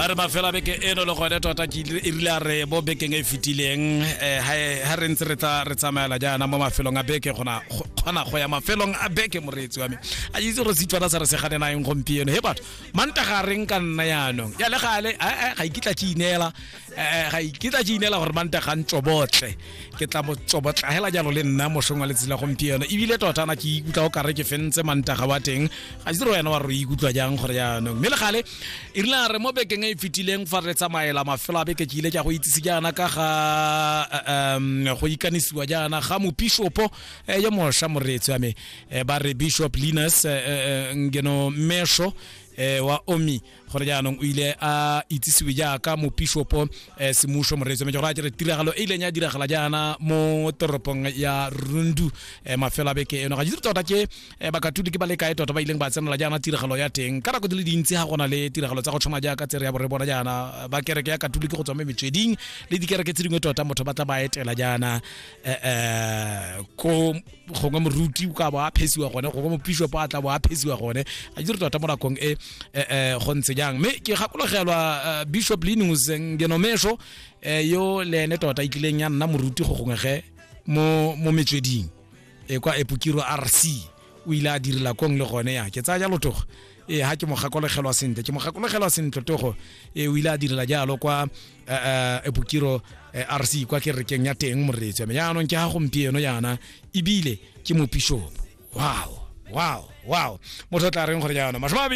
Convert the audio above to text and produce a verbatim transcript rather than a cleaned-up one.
Ba re mafelo a beke eno le gone tota ke ile- e rile a re bo bekeng e e fetileng, um ha re ntse re tla re tsamaela jaana mo mafelong a beke, gona go- kgona go ya mafelong a beke. Moreetsi wa me, a itse gore Setswana sa re se ganenaeng gompieno. He batho, Mantaga reng ka nna yaanong ya le gale, eh, eh, ga ikitla ke ineela, eh, ga ikitla ke ineela gore Mantaga ntsobotle, ke tla mo tsobotla hela jalo le nna mošong wa letsatsi la gompieno. Ebile tota na ke ikutlwa o kare ke fentse Mantaga wa teng. Ga itse gore wena wa re o ikutlwa jang gore jaanong. Mme le gale e rile a re mo bekeng e e fetileng fa re tsamaela mafelo a beke, ke ile ke a go itsise jaana ka ga eh, um go ikanisiwa jaana ga mopishopo eh, yo mošwa. Moreetsi wa me, eh, ba re Bishop Linus eh, eh, Ngeno Mesho eh, wa Omi, gore jaanong o ile a itsisiwe jaaka mopishopo eh, semušo. Moreetsi wa me, ke gore a kere tiragalo e ileng ya diragala jaana mo toropong ya Rundu eh, mafelo a beke eno. Ga ke itse tota ke eh, bakatoliki ba le kae tota ba ileng ba tsenela jaana tiragalo ya teng. Ka nako di le dintsi ga gona le tiragalo tsa go tshwana jaaka tsere ya bore bona jaana, ba kereke ya Katoliki go tswa mo metsweding le dikereke tse dingwe tota motho ba tla ba etela jaana eh, eh, ko gongwe moruti o ka bo a phesiwa gone, gongwe mopishopo a tla bo a phesiwa gone. Ga ke itse tota mo nakong e eh, eh, go ntse jang. Mme ke gakologelwa eh, Bishop Linus Ngenomesho eh, yo le ene tota e tlileng ya nna moruti go gongwe ge mo mo metsweding e kwa Epukiro R C, o ile a direla kong le gone. Ya ke tsaya jalo togo ee, ha ke mo gakologelwa sentle, ke mo gakologelwa sentle togo e, o ile a direla jalo kwa eh, eh, Epukiro eh, R C, kwa kerekeng ya teng. Moreetsi wa me, jaanong ke ga gompieno jaana ebile ke mopishopo. Wow, wow, wow! Motho o tla reng gore jaanong masome a mabedi